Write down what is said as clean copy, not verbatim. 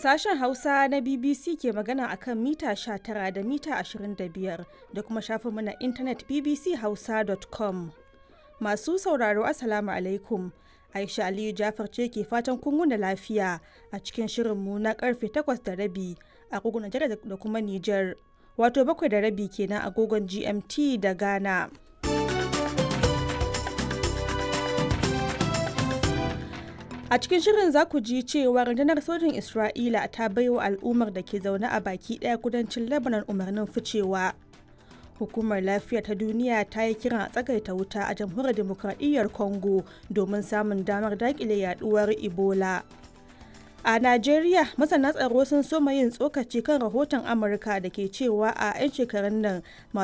Sashen Hausa na BBC ke magana a kan mita 19 da mita 25 da kuma shafinmu na intanet bbchausa.com. Masu sauraro, Assalamu alaikum. Aisha Aliyu Jafar ce ke fatan kun wuni lafiya a cikin shirinmu na karfe 8:30 agogon Najeriya da kuma Nijar. Wato 7:30 kenan agogon GMT da Ghana. A cikin shirin za ku ji cewa rundunar sojin Isra'ila ta baiwa al'ummar da ke zaune a baki ɗaya kudancin Lebanon umarnin ficewa. Hukumar Lafiya ta Duniya ta yi kiran a tsagaita wuta a Jamhuriyar Dimokradiyyar Congo domin samun damar daƙile yaduwar Ebola. A Najeriya, masana tsaro sun soma yin tsokaci kan rahoton Amurka da ke cewa a 'yan shekarun nan masu